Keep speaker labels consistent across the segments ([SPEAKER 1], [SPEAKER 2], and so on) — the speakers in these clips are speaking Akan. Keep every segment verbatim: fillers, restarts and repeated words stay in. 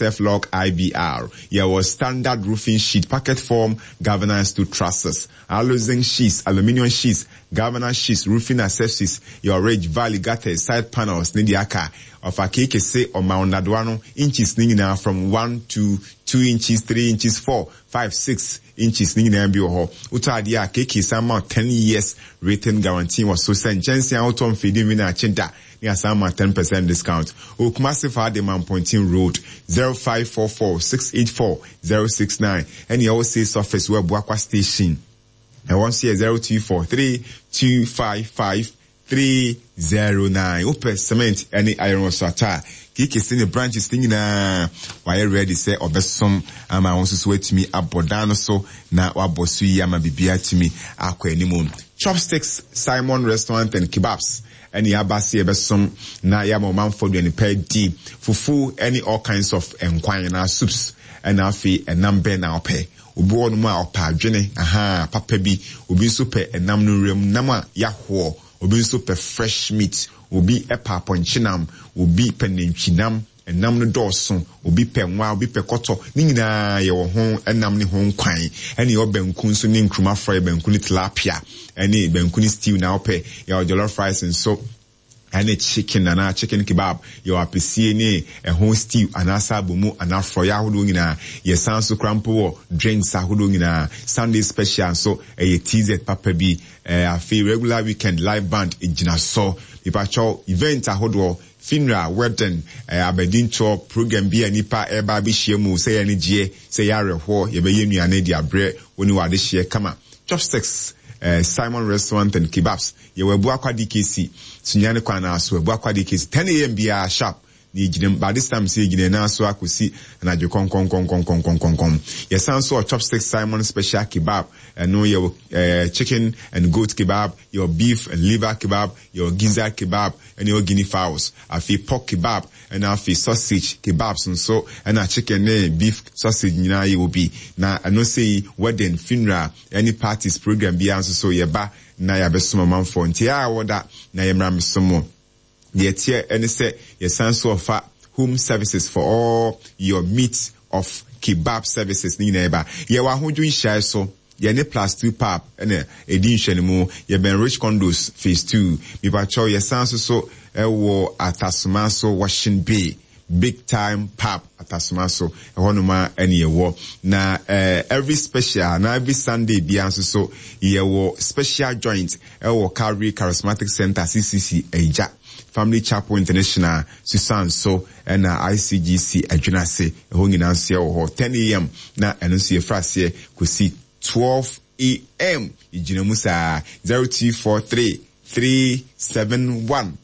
[SPEAKER 1] Self-Lock I B R. Yɛwɔ standard roofing sheet, pocket form, galvanized to trusses, aluzinc sheets, aluminium sheets, galvanized sheets, roofing accessories, your ridge, valley, gutters, side panels, ne deɛ aka. Ɔfa keeke se ɔma ɔnadoa no inches ne nyinaa from one to two inches, three inches, four, five, six inches ne nyinaa bi wɔ hɔ. Wotɔ adeɛ a, keeke san ma ten years written guarantee wɔ so sɛ nkyɛnsee a wotɔ mfidi mi na akye da ne asan ma ten percent discount. Okumase fa de Mampontin Road, zero five four four six eight four zero six nine, ɛne ɛwɔ sales office wɔ Abuakwa Station. Ɛwɔ nso yɛ zero two four three two five five three zero nine. Wopɛ cement ɛne iron so atɔ a, keeke si ne branches ne nyinaa wayɛ ready sɛ ɔbɛsom ama wɔn nso so atumi abɔ dan no so na wabɔ so yi ama biribiara atumi akɔ anim. Chopsticks Simon Restaurant and Kebabs ɛne aba se yɛbɛsom na yɛama ɔmanfoɔ aduane pa di, fufu ɛne all kinds of nkwan na soups. Ɛna afei ɛnam bɛn na ɔpɛ? Obi wɔ nom a ɔpɛ adwene aha papa bi, obi nso pɛ ɛnam no nwuram nam a yahoɔ, obi nso pɛ fresh meat, obi pɛ apɔnkyenam, obi pɛ nantwinam. Ɛnam no dɔɔso, obi pɛ nwa, obi pɛ kɔtɔ, ne nyinaa yɛwɔ ho ɛnam ne ho nkwan. Ɛne yɛwɔ banku nso ne nkuruma frɔyɛ, banku ne tilapia, ɛne banku ne stew na wopɛ. Yɛwɔ jollof rice nso ɛne chicken anaa chicken kebab. Yɛwɔ apɛsie ne ɛho stew anaasɛ abomu anaa frɔyɛ ahodoɔ nyinaa. Yɛsan so kora mpo wɔ drinks ahodoɔ nyinaa. Sunday special nso ɛyɛ T Z papa bi. ɛɛ afei regular weekend live band gyina so. Mipakyɛw, event ahodoɔ, funeral, wedding, ɛɛ abadintoɔ program bi a nipa ɛreba abɛhyia mu, sɛ yɛ ne gyeɛ, sɛ yɛ awerɛhoɔ, yɛbɛyɛ nnuane de abrɛ wɔn ne wɔ adehyeɛ kama. Chopsticks uh, Simon Restaurant and Kebabs, yɛwɔ Abuakwa D K C, Sunyani kwan na so, Abuakwa D K C, ten a m biara sharp na yɛgyina mu. By this time sɛ yɛgyina nan so akɔsi anadwo kɔnkɔnkɔnkɔnkɔnkɔnkɔn. Yɛsan so wɔ Chopsticks Simon special kebab. Ɛno yɛwɔ ɛɛ chicken and goat kebab, yɛwɔ beef and liver kebab, yɛwɔ gizzard kebab, ɛna yɛwɔ guinea fowls, afei pork kebab, ɛna afei sausage kebabs nso, ɛna chicken ne beef sausage nyinaa yɛwɔ bi. Na ɛno sɛ yi wedding, funeral ɛne parties program biara nso so, yɛba na yɛabɛsom amanfoɔ. Nti a wɔda na yɛmmra mesom deɛ teɛ ɛne sɛ yɛsan so ɔfa home services for all your meat of kebab services ne nyinaa. Yɛba yɛwɔ Ahodwo Nhyiaeɛ so, yɛne Plus Two Pub ɛna ɛdi nhwɛne mu. Yɛbɛn Rich Condos Phase Two. Mipakyɛw, yɛsan so so ɛwɔ Atasoma so, Washing Bay, Big Time Pub, Atasoma so ɛhɔnom a ɛne yɛwɔ. Na uh, every special na every Sunday bia nso so yɛwɔ special joint ɛwɔ Calvary Charismatic Center, C C C Agya, Family Chapel International Susan so, ɛna I C G C Adwinase. Ɛhɔ nyinaa nso yɛwɔ hɔ ten a m na ɛno nso yɛfra aseɛ kɔsi twelve a m. Yɛgyina mu saa. zero two four three three seven one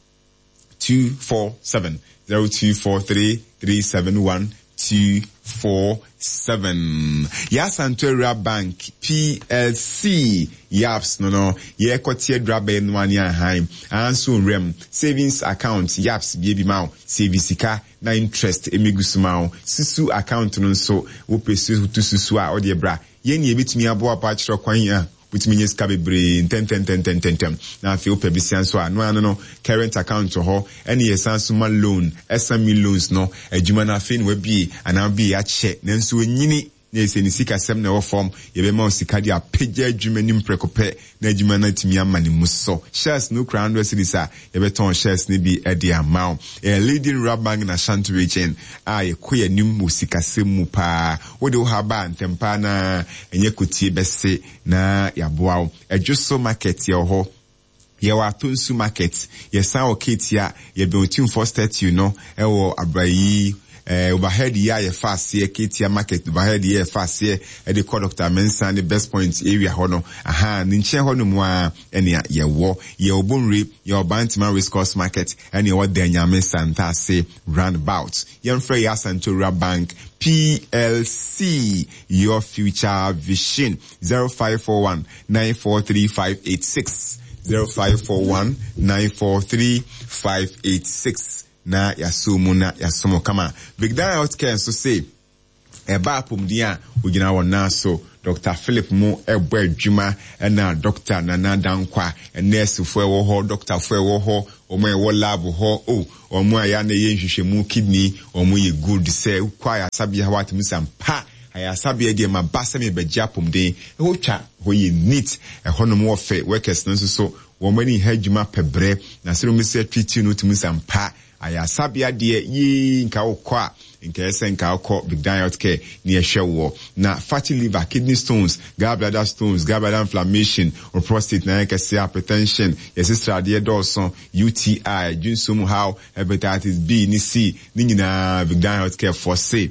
[SPEAKER 1] two four seven, zero two four three three seven one two four seven. Yɛasanto Awura Bank P L C, yaps no no yɛkɔte adura bɛyɛ no ane ahan anso nwuram savings account yaps bie bi ma wo save sika na interest emegu so ma wo. Susu account no nso, wopɛ su to susu a, ɔde bra yɛn ni ebitumi aboa pa akyerɛ kwan a wotumi nye sika bebree ntɛntɛntɛntɛntɛm. Na afei wopɛ bisia nso a, no ano no current account wɔ hɔ, ɛne yɛsan so ma loan, S M E loans no adwuma no afei na wabie anaa wabie akyɛ nanso onyini na ɛsɛ ne sikasɛm na ɛwɔ fam, yɛbɛma wo sika de apagya adwuma nim prɛko pɛ na adwuma no atumi ama ne mu so. Shares no kura hundred cedis a, yɛbɛtɔn shares no bi de ama wo. Ɛyɛ leading rural bank na Ashanti Region a yɛkɔ yɛn anim wɔ sikasɛm mu paa. Wode wo ha ba ntɛm paa na ɛnyɛ kotie bɛse na yɛaboa wo. Ɛdwo so Market yɛwɔ hɔ, yɛwɔ Atonsu Market, yɛsan wɔ Ketia, yɛbɛn Otumfoɔ statue no ɛwɔ Abrayi eh, overhead yi a yɛfa aseɛ Ketia Market overhead yi a yɛfa aseɛ ɛde kɔ Doctor Mensa ne Best Point area hɔ no, aha ne nkyɛn hɔ nom a ɛnea yɛwɔ. Yɛwɔ Bonwire, yɛwɔ Bantama Race Course Market, ɛne yɛwɔ Danyame Santase roundabout. Yɛmfrɛ yɛ Asantowura Bank P L C, your future vision. zero five four one nine four three five eight six, zero five four one nine four three five eight six, na yɛasɔ mu na yɛasom kama. Big Dan Healthcare nso se ɛba apɔmuden a, ogyina wɔn nan so. Doctor Philip mo ɛbɔ adwuma, ɛna Doctor Nana Dankwa, nursefoɔ ɛwɔ hɔ, doctorfoɔ ɛwɔ hɔ, wɔn a ɛwɔ lab hɔ, o wɔn a yɛa na ɛyɛ nhwehwɛmu kidney, wɔn yɛ good sɛ wokɔ ayasabea hɔ atumi sɛ mpa ayasabea deɛ ma ba sɛ mebɛgye apɔmuden. Ɛhɔ twa hɔ yɛ neat, ɛhɔnom wɔ fɛ, workers no nso so wɔn ani ha adwuma pɛbrɛ na sɛ wɔn sɛ treat no tumi sɛ mpa ayasabea deɛ yee nka wokɔ a nka ɛsɛ nka wokɔ Big Dan Healthcare ne ɛhwɛ wɔ. Na fatty liver, kidney stones, gallbladder stones, gallbladder inflammation, or prostate na yɛ kɛseɛ, hypertension, yɛsɛ sradeɛ dɔɔso, U T I, dwonsom haw, hepatitis B ne C ne nyinaa, Big Dan Healthcare for say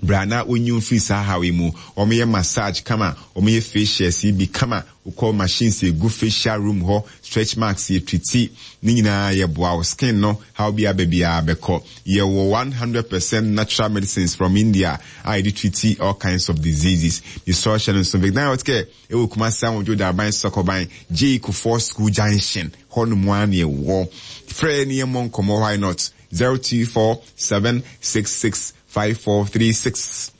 [SPEAKER 1] bra na wonyi mfiri saa haw yi mu. Wɔyɛ massage kama, wɔyɛ facials yi bi kama, wokɔ machines egu facial room hɔ, stretch marks yɛ treat ne nyinaa, yɛboa wo skin no haw bi aba biara bɛkɔ. Yɛwɔ one hundred percent natural medicines from India a yɛde treat all kinds of diseases. Nisɔ hyɛ no nso, Big Dan Healthcare ɛwɔ Kumasi Ahodwo Daban Sɔkɔban J Kufuor School Junction hɔ nom a ne ɛwɔ. Frɛ ne yɛ mmɔ nkɔmmɔ, why not? zero two four seven six six five four three six,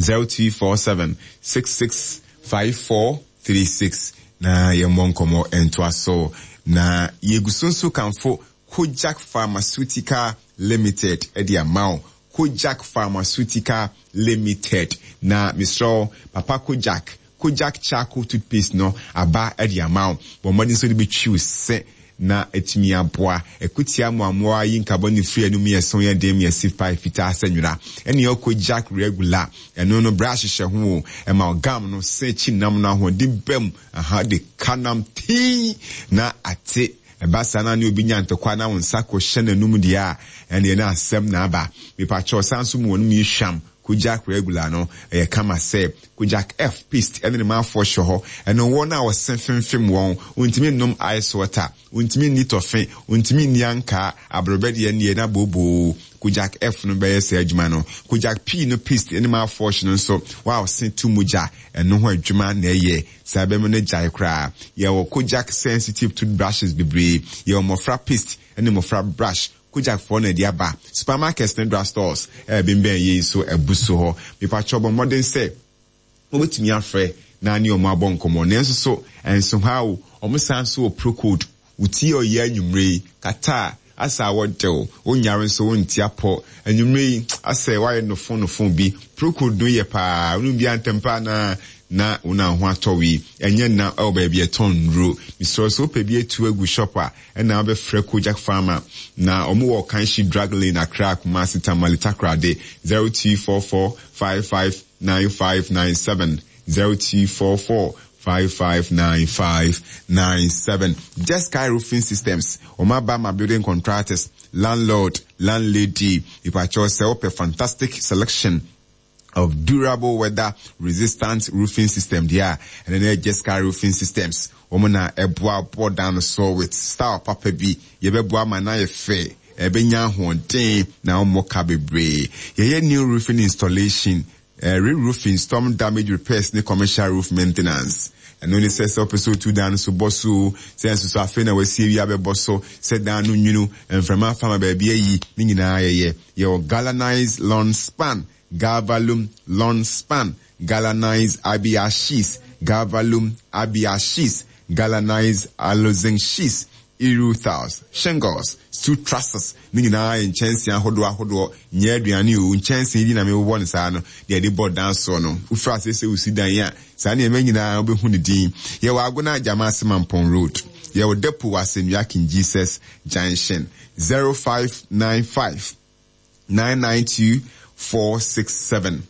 [SPEAKER 1] zero two four seven six six five four three six, na yɛmmɔ nkɔmmɔ ntoa so. Na yɛgu so nso kamfo Kojak Pharmaceutical Limited ɛde ama wo. Kojak Pharmaceutical Limited na mesrɛ papa Kojak, Kojak charcoal toothpaste no aba ɛde ama wo. Bɔ mmɔden nso de bɛtwi wo se na etumi aboa ekutia mmoamoa yi nkabɔ ne firi anum yɛ so yɛ den yɛ si fa fitaa sɛ nwera. Ɛne ɔkɔ Kojak regular, ɛno no brush hyɛ ho o, ɛma gum no se akyi nam no ahoɔden bɛm aha de ka nam tii na ate. Ɛba saa na ne obi nya ntɔkwa na wo nsa kɔhyɛ n'anum deɛ a, ɛneɛ na asɛm na aba. Mepakyɛw, san so mu wɔn mu yi hwam. Kojak regular no ɛyɛ kama sɛ Kojak F paste ɛne ne maafoɔ hyɛ hɔ. Ɛno wɔn a wɔse femfem wɔn wɔntumi nnom ice water, wɔntumi nni tɔfe, wɔntumi nni ankaa aborɔbɛ deɛ neɛ na booboo, Kojak F no bɛyɛ saa adwuma no. Kojak P no paste ɛne maafoɔ hyɛ no nso wa ɔse tu mogya, ɛno ho adwuma na ɛyɛ saa bɛmo no gyae koraa. Yɛwɔ Kojak sensitive toothbrushes bebree, yɛwɔ mmɔfra paste ɛne mmɔfra brush. Kojak foɔ na ɛde aba supermarkets ne drug stores ɛbɛnbɛn yei so ɛbu so hɔ. Mipakyɛw, bɔ mmɔden sɛ wobɛtumi afrɛ na ne ɔmo abɔ nkɔmmɔ. Nanso so ɛnso ha o, ɔmo san so wɔ Procold. Wotie ɔyɛ anwummerɛ yi kata a asa a wɔdew wonyare nso wonti apɔ anwummerɛ yi asɛ woayɛ nofo nofo bi, Procold no yɛ paa. Wonom bi antɛm paa na na wo na ho atɔ wi. Ɛnyɛ na ɛwɔ baabi ɛtɔn nnuro. Mesrɛ sɛ wopɛ bi atu agu shop a, ɛna wobɛfrɛ Kojak Pharma na ɔmo wɔ Kanshi Drug Lane, Accra, Kumasi, Tamale, Takoradi. zero two four four five five nine five nine seven, zero two four four five five nine five nine seven. Just Sky Roofing Systems, ɔmo aba ma building contractors, landlord, landlady. Ìpàkyɛw, sɛ wopɛ fantastic selection of durable weather resistant roofing system deɛ a, ɛno ne Just Sky Roofing Systems. Wɔn na ɛboa bɔ dan no so with style papa bi. Yɛbɛboa ma na yɛ fɛ, ɛbɛnya ahoɔden na wɔn ka bebree. Yɛyɛ new roofing installation, uh, re-roofing, storm damage repairs ne commercial roof maintenance. Ɛno ne sɛ sɛ wopɛ sɛ otu dan no so bɔ so, sɛ nso so afei na wasie wie abɛbɔ so, sɛ dan no nwunu mframa fama baabi ayi ne nyinaa yɛyɛ. Yɛwɔ galvanized long span, galvalume long span, galvanized I B R sheets, galvalume I B R sheets, galvanized aluzinc sheets, tiles, shingles, steel trusses ne nyinaa yɛ nkyɛnsee ahodoɔ ahodoɔ. Nyɛ aduane o, nkyɛnsee bi na mewobɔ no saa no deɛ yɛde bɔ dan soɔ no. Wofiri ase sɛ wosi dan a, saa nneɛma nyinaa wobɛhu ne din. Yɛwɔ Agona Gyama Mampɔn Road, yɛwɔ depo wɔ Asɛnnua King Jesus Junction. zero five nine five nine nine two four six seven,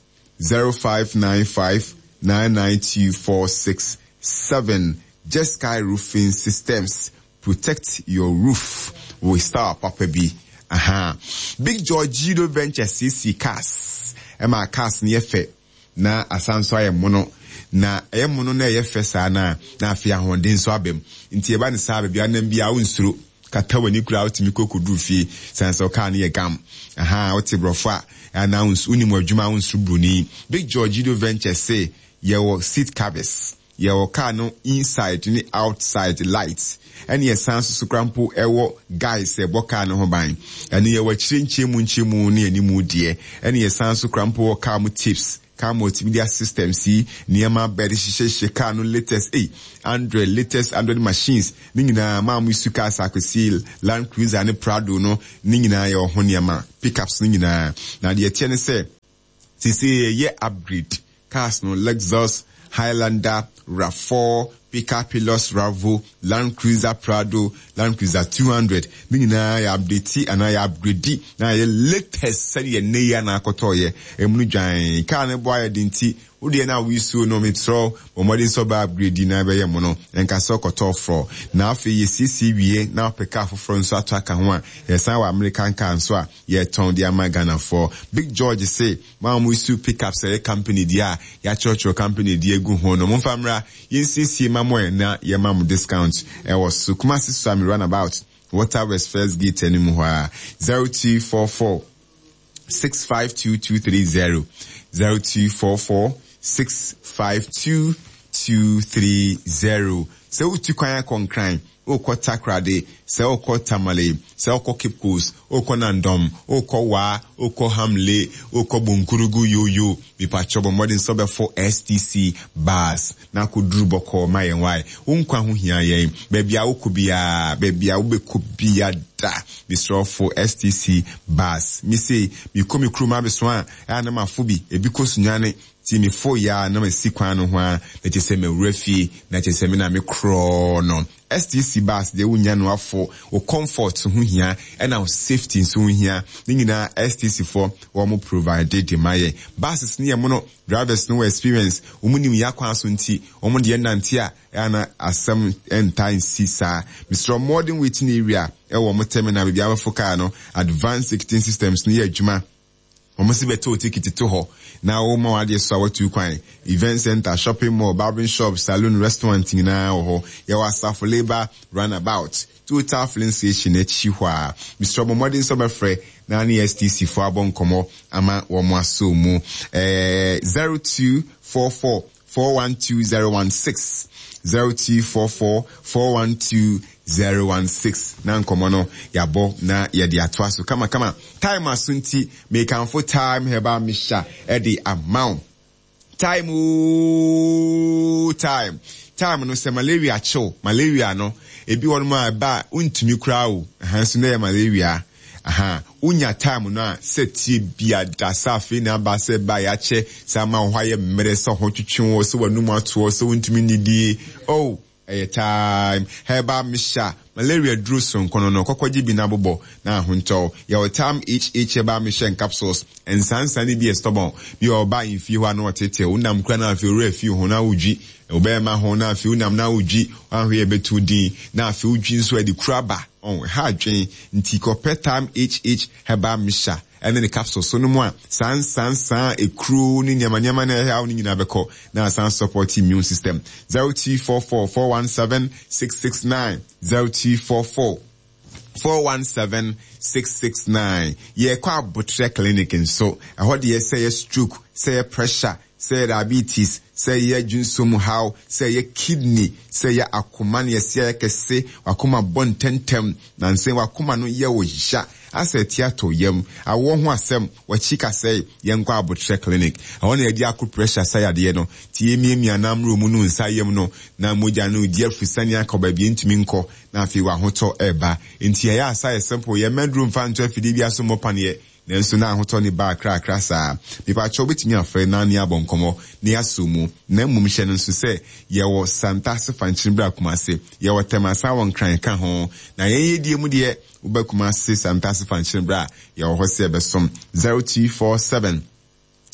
[SPEAKER 1] zero five nine five nine nine two four six seven. Just Sky Roofing Systems, protect your roof with style papa bi. Aha, Big George Judo Venture C C cars, ɛma cars no yɛ fɛ na asan so ayɛ mono, na ɛyɛ mono na ɛyɛ fɛ saa na na afei ahoɔden nso aba mu. Nti ɛba ne saa, baabi anam bi a wonsuro kata w'ani koraa, wotumi kɔ kɔduru fie san sɛ ɔkaa no yɛ gam. Aha, wote borɔfo a anaa wonim adwuma a, wonsuro buroni. Big George Judo Venture se yɛwɔ seat covers. Yɛwɔ car no inside ne outside lights. Ɛne yɛsan so so kora mpo ɛwɔ guys ɛbɔ car no ho ban. Ɛne yɛwɔ akyire nkyɛmu nkyɛmu ne animu deɛ. Ɛne yɛsan so kora mpo wɔ car mu tips, car multimedia systems yi, nneɛma bɛde hyehyɛhyehyɛ car no latest, ei, Android, latest Android machines ne nyinaa. Maa mo use cars akɔsi Land Cruiser ne Prado no ne nyinaa, yɛwɔ ho nneɛma, pickups no nyinaa. Na deɛ ɛteɛ ne sɛ sisi yɛyɛ upgrade cars no, Lexus, Highlander, RAV four, pickup, Hilux, Ravo, Land Cruiser Prado, Land Cruiser two hundred ne nyinaa yɛ update anaa yɛ upgrade na yɛ latest sɛdeɛ nne yi anaa akɔtɔɔyɛ emu no dwan. Car no bɔ ayɛ de nti wodeɛ no a woyisuo no, metrɛ bɔ mmɔden sɛ ɔbɛ upgrade na ɛbɛyɛ mu no ɛnka sɛ ɔkɔtɔɔ forɔ. Na afei yɛsiesie wie na wopɛ car foforɔ nso ato aka ho a, yɛsan wɔ American car nso a yɛtɔn de ama Ghanafoɔ. Big George se maa mo issue pickups, ɛyɛ company deɛ a yɛakyerɛkyerɛ company deɛ egu ho no, momfa mmra yɛnsiesie ma mo ɛ na yɛma mo discount ɛwɔ so. Kumasi Suame Roundabout, Water West first gate anim hɔ a, zero two four four six five two two three zero, zero two four four six five two two three zero. Sɛ wotu kwan akɔ Nkran, wokɔ Takoradi, sɛ wokɔ Tamale, sɛ wokɔ Cape Coast, wokɔ Nandɔm, wokɔ Waa, wokɔ Hamle, wokɔ Bonkurugu, yoyo mipatwɔ, bɔ mmɔden sɛ wobɛfo S T C bus na akɔduru bɔkɔɔ ma yɛn. Wae, wo nkwa ho hia yɛn. Baabi a wokɔ biara, baabi a wobɛkɔ bia da, mesrɛfo S T C bus. Mise mekɔ me kurom abɛso a, ɛa na mafo bi ebi kɔ Sunyane nti mefo yɛ a na masi kwan no ho a, na kyerɛ sɛ mawura fie, na kyerɛ sɛ me na me korɔɔ no. S T C bus deɛ, wonya no afo. Wo comfort ho hia ɛna wo safety nso ho hia. Ne nyinaa S T C foɔ wɔn provide de ma yɛ. Buses ne yɛ mo no, drivers no wɔ experience, wɔn nim yɛ akwan so nti wɔn deɛ nante a ɛna asɛm nta nsi saa. Mesrɛ, modern waiting area ɛwɔ wɔn terminal baabi abɛfo car no, advanced ticketing systems no yɛ adwuma. Wɔn si bɛtɔ o ticket to hɔ na wɔma wɔn adeɛ so a wɔatu kwan. Event center, shopping mall, barbering shop, saloon, restaurant nyinaa wɔ hɔ. Yɛwɔ Asafo Labour Roundabout, Total filling station akyi hɔ a. Mesrɛ, bɔ mmɔden sɛ ɔbɛfrɛ na ne S T C fo abɔ nkɔmmɔ ama wɔn aso mu. Ɛɛ zero two four four four one two zero one six, zero two four four four one two zero one six, na nkɔmmɔ no yɛabɔ na yɛde atoa so kamakama. Time aso nti mekamfo Time Herbal Mixture ɛde ama wo. Time ooo, time time no sɛ malaria kyew, malaria no ebi wɔ nom a ɛba a wontumi koraa o, ɛha nso na ɛyɛ malaria. Aha wonya time no a, sɛ tie bia da sɛ afei na aba sɛ ba yɛakyɛ sɛ ama wo hɔ ayɛ mmerɛ, sɛ ho twetwe wɔ, sɛ w'anum atoɔ, sɛ wontumi nnidie oh, ɛyɛ Time Herbal Mixture. Malaria duro sonko no no kɔkɔgye bi na bobɔ na ahontɔw. Yɛwɔ Time H H Herbal Mixture and capsules. Nsansan no bi yɛ stubborn bi a ɔba mfie hɔ a na ɔtetew wonam kura na afei owura fie ho na wodwi wobɛɛma ho, na afei wonam na wodwi wahwɛ yɛ bɛtu din, na afei wodwi nso ɛde kura ba ɔn ha adwen. Nti kɔpɛ Time H H Herbal Mixture ɛne ne capsules so no mu a, saa nsansan ekuro ne nneɛma nneɛma na ɛhɛ awo no nyinaa bɛkɔ na asan support immune system. zero two four four four one seven six six nine, zero two four four four one seven six six nine. Yɛkɔ Abotrɛ Clinic nso. Ɛhɔ deɛ, sɛ yɛ stroke, sɛ yɛ pressure, sɛ yɛ diabetes, sɛ yɛ dwonsom haw, sɛ yɛ kidney, sɛ yɛ akoma ne yɛsi ayɛ kɛse, wakoma bɔ ntɛntɛm na nsɛn wakoma no yɛ wo ya asɛ ɛte atɔ yam, awɔ ho asɛm, wakyi kasɛe, yɛnkɔ Abotrɛ Clinic. Ɛhɔ na yɛde acupressure sa yadeɛ no. Tie miamia nammerɛ mu no nsa yam no na mogya no di afusane akɔ baabi ntumi nkɔ, na afei wahotɔ ɛba. Nti ɛyɛ asa yɛ simple, yɛ mɛduro mfa nto afidie bi aso mmɔ paneɛ, nanso na ahotɔ ne ba akrakra saa. Nipakyɛw, wobɛtumi afrɛ na ne abɔ nkɔmmɔ ne asɔ mu. Na mmom hyɛ no nso sɛ yɛwɔ Santase Fankyene berɛ Kumase, yɛwɔ Tɛmasa, wɔ Nkran ka ho. Na yɛn yɛdie mu deɛ, wobɛ Kumase Santase Fankyene berɛ a, yɛwɔ hɔ sɛ yɛbɛsom. zero two four seven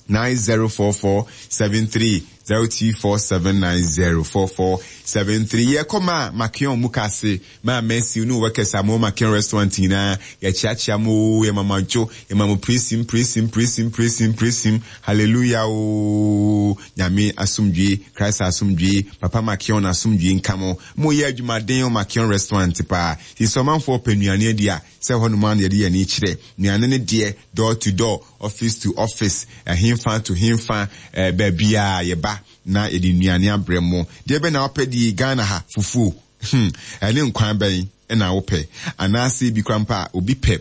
[SPEAKER 1] nine zero four four seven three, zero two four seven nine zero four four seven three. Yɛkɔ ma Makion mu kase ma Mercy ne workers a mo Makion Restaurant nyinaa, yɛkyeakyea mo, yɛ mama dwo, yɛ ma mo presim presim presim presim presim, hallelujah o. Nyame asomdwe, Christ asomdwe, Papa Makion asomdwe nka mo. Mo yɛ adwumaden o Makion Restaurant paa. Ti sɛ ɔmanfoɔ pɛ nnuane adi a, sɛ hɔ nom a na yɛde yɛn ani kyerɛ nnuane no deɛ, door to door, office to office, ɛhenfa to henfa, ɛɛ baabi a yɛba. Yɛbɛba na yɛde nnuane abrɛ mo. Deɛ bɛ na wopɛ di Ghana ha fufuo. Hmm, ɛne nkwan bɛn ɛna wopɛ? Anaasɛ bi kora mpa a obi pɛ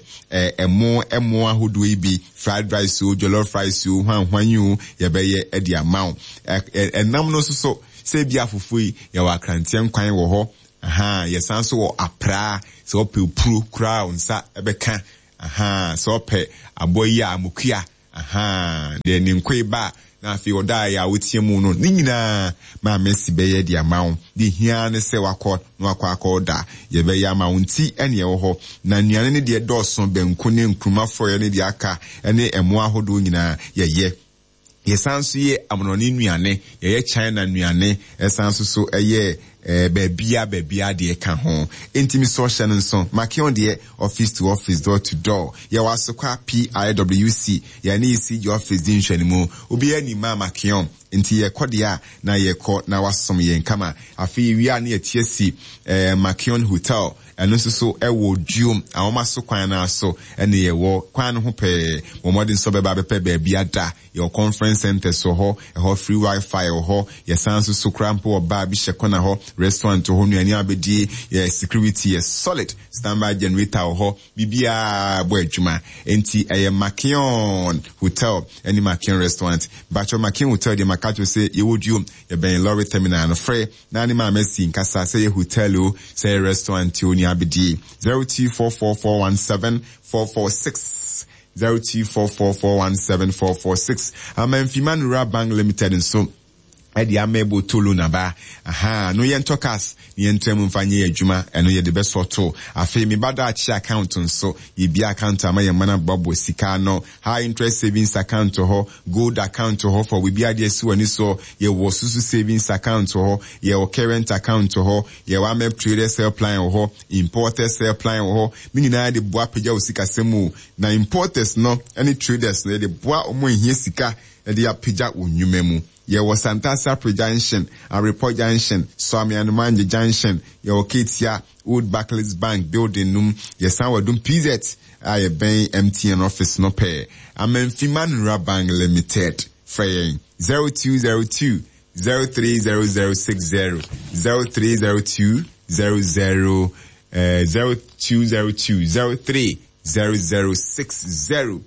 [SPEAKER 1] ɛmo ɛmo ahodoɔ yi bi, fried rice o, jollof rice o, hwan hwan yi o, yɛbɛyɛ ɛde ama wo. Ɛnam no nso so, sɛ bi afufuo yi, yɛwɔ akranteɛ nkwan wɔ hɔ. Aha, yɛsan so wɔ apraa, sɛ wopɛ puro koraa wo nsa ɛbɛka. Aha, sɛ wopɛ aboa yi a amokua. Aha, deɛ ne nkoe ba na afei ɔda a wotie mu no, ne nyinaa maame si bɛyɛ de ama wo. De hia ne sɛ wakɔ na wakɔ akɔ da, yɛbɛyɛ ama wo nti ɛne ɛwɔ hɔ. Na nnuane ne deɛ dɔɔso, banku ne nkruma frɔeɛ ne deɛ aka ne ɛmo ahodoɔ nyinaa yɛyɛ. Yɛsan so yɛ amonɔne nnuane, yɛyɛ China nnuane, ɛsan so so ɛyɛ eh, baabia baabia deɛ ka ho. Enti mi sɔ hyɛ no nso, Makion deɛ office to office, door to door. Yɛwɔ Asokwa P I W C, yɛne E C G office di nhwɛnimu. Obiara ni ma Makion, nti yɛkɔ deɛ a na yɛkɔ na wasom yɛn kama. Afei wia ne yɛte asi eh, Makion Hotel, ɛno nso so ɛwɔ Duom ahoma so kwan no so, ɛne yɛwɔ kwan no ho pɛɛ. Wɔn mmɔden nso bɛba abɛpɛ baabi ada. Yɛwɔ conference center so hɔ, ɛhɔ free wifi wɔ hɔ. Yɛsan nso so kora mpo wɔ bar bi hyɛ kɔna hɔ, restaurant wɔ hɔ, nnuane abɛdie, yɛ security yɛ solid, standby generator wɔ hɔ, biribiara bɔ adwuma. Nti ɛyɛ Makion Hotel ɛne Makion Restaurant. Bakyɛ Makion Hotel deɛ, maka kyerɛ sɛ yɛwɔ Duom, yɛbɛn lorry terminal no. Frɛ na ne maame si nkasa, sɛ yɛ hotel o, sɛ yɛ restaurant o, nea abɛdie, zero two four four four one seven four four six, zero two four four four one seven four four six. Amanfima Rural Bank Limited nso ɛde ama ɛbɔ tolo naba. Aha no yɛntɔ cars ne yɛntena mu mfa nyɛ adwuma, ɛno yɛde bɛsɔ to. Afei meba daakye account nso, yɛbia account ama yɛn mana boaboa sika no, high interest savings account hɔ, gold account hɔ for biribi adeɛ si w'ani so. Yɛwɔ susu savings account hɔ, yɛwɔ current account hɔ, yɛwɔ amep traders helpline wɔ hɔ, importers helpline wɔ hɔ. Ne nyinaa de boa apagya wo sikasɛm mu, na importers no ne traders no, yɛde boa wɔn ehia sika de apagya wɔn nnwuma mu. Yɛwɔ Santasi Junction, Arepɔ Junction, Suame Junction, yɛwɔ Ketia Old Barclays Bank building num. Yɛsan wɔ Dum P Z a yɛbɛn M T N office no pɛɛ. Amanfima Nura Bank Limited, frɛ yɛn zero two zero two zero three zero zero six zero, zero three zero two zero zero uh, zero two zero two zero three zero zero six zero.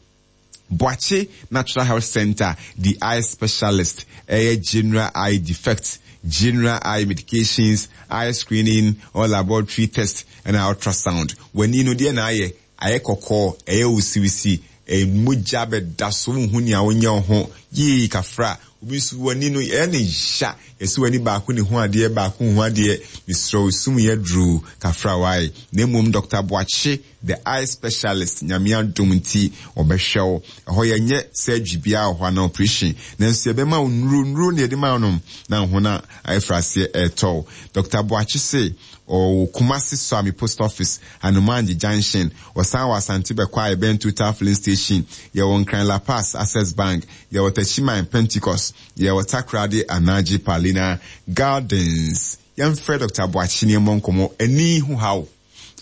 [SPEAKER 1] Boakye Natural Health Center, the eye specialist, ɛyɛ general eye defect, general eye medications, eye screening or laboratory test ɛna ultrasound. W'ani no deɛ na ayɛ ayɛ kɔkɔɔ, ɛyɛ wosiwisi, mogya bɛda so, wohu nea wonyɛ wo ho yii kafra. Obi nso w'ani no ɛyɛ ne ya, yɛsɛ w'ani baako ne ho adeɛ, baako ho adeɛ. Mesrɛ wo, sum yɛ duru kafra wae, na mmom Doctor Boakye the eye specialist, Nyame adom nti ɔbɛhwɛ wo. Ɛhɔ yɛnyɛ surgery biara wɔ hɔ ana operation, nanso yɛbɛma wo nnuro nnuro ne yɛde ma wo nom na ho no ayɛfra aseɛ ɛɛtɔ. Doctor Boakye se ɔwɔ Kumasi Suame Post Office, Anomangye Junction. Ɔsan wɔ Asante Bɛkɔ a yɛbɛn Total Filling Station. Yɛwɔ Nkran La Pass Access Bank, yɛwɔ Techiman Pentecost, yɛwɔ Takoradi Anagye Palina Gardens. Yɛmfrɛ Doctor Boakye ne ɛmmɔ nkɔmmɔ ani ho haw.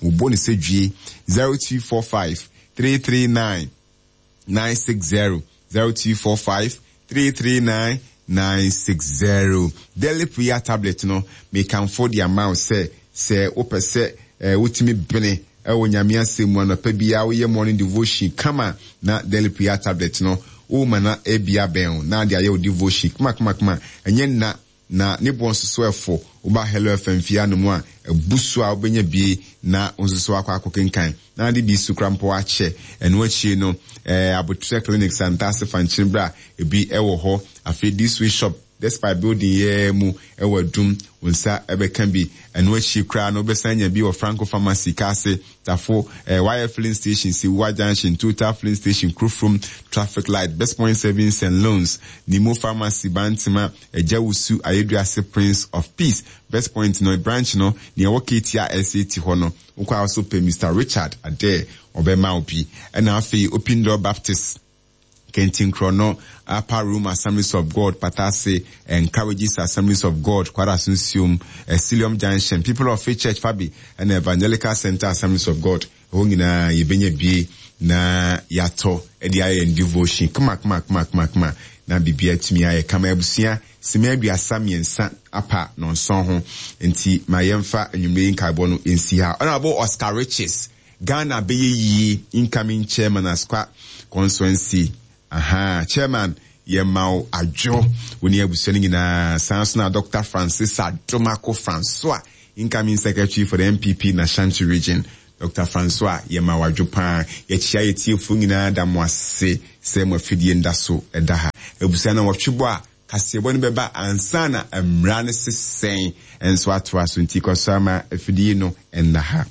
[SPEAKER 1] Wobɔ ne sɛ dwie zero two four five three three nine nine six zero, zero two four five three three nine nine six zero. Daily Prayer tablet no, mekamfo de ama wo sɛ sɛ wopɛ sɛ eh, wotumi bene ɛwɔ Nyame asɛm mu anɔpa biara, woyɛ morning devotion kama, na Daily Prayer tablet no woma na ebia bɛn wo na ade ayɛ wo devotion kama kama kama. Ɛnyɛ nna na ne boɔ nso so ɛfo. Woba Hello F M fie anom a ɛbu so a, wobɛnya bie na wo nso so akɔ akɔ kenkan na ade bi so kora mpo akyɛ. Ɛno akyire no, ɛɛ Abotrɛ Clinic, Santase Fankyere bra, ebi ɛwɔ hɔ. Afei This Way Shop, Despite building yɛɛ mu ɛwɔ Adum, wo nsa ɛbɛka bi. Ɛno akyi koraa no, wobɛsan nya bi wɔ Franco Pharmacy, Kaase Tafo, ɛɛ wire filling station, Siwua Junction, Total Filling Station, Kurofrom traffic light, Best Point Savings and Loans, Nimo Pharmacy, Bantama, Agyawusu, Ayeduase, Prince of Peace, Best Point no branch no nea ɛwɔ Ketia S A T hɔ no. Wokɔ a so pɛ Mister Richard Adair, ɔbɛma wo bi. Ɛna afei Open Door Baptist, Kentinkrɔ, Upper Room Assemblies of God, Patase, Encourages Assemblies of God, Kwarasunsium, Esilium Junction, People of Faith Church, Fabi, and Evangelical Center Assemblies of God. Ɛhɔ nyinaa yɛbɛnya bie na yɛatɔ de ayɛ yɛn devotion kama kama kama kama kama. Na biribiara atumi ayɛ kama. Abusua, sima aduasa mmiɛnsa apa nɔnson ho nti ma yɛmfa anwummerɛ yi nkaebɔ no nsi ha. Honorable Oscar Riches, Ghana bɛyɛ yie, incoming chairman, Asokwa Constituency. Aha, chairman, yɛma wo adwo, wo ne abusua no nyinaa. Saa nso na Doctor Francis Adomako Francois, incoming secretary for the N P P in Ashanti Region. Doctor Francois, yɛma wo adwo paa. Yɛkyia yɛtiefoɔ nyinaa, da mo ase sɛ mo afidie nda so ɛda ha. Abusua no, wɔtwe bɔ a kaseɛbɔ no bɛba ansa na mmara no sesɛn nso atoa so, nti kɔ so ama afidie no ɛnna ha.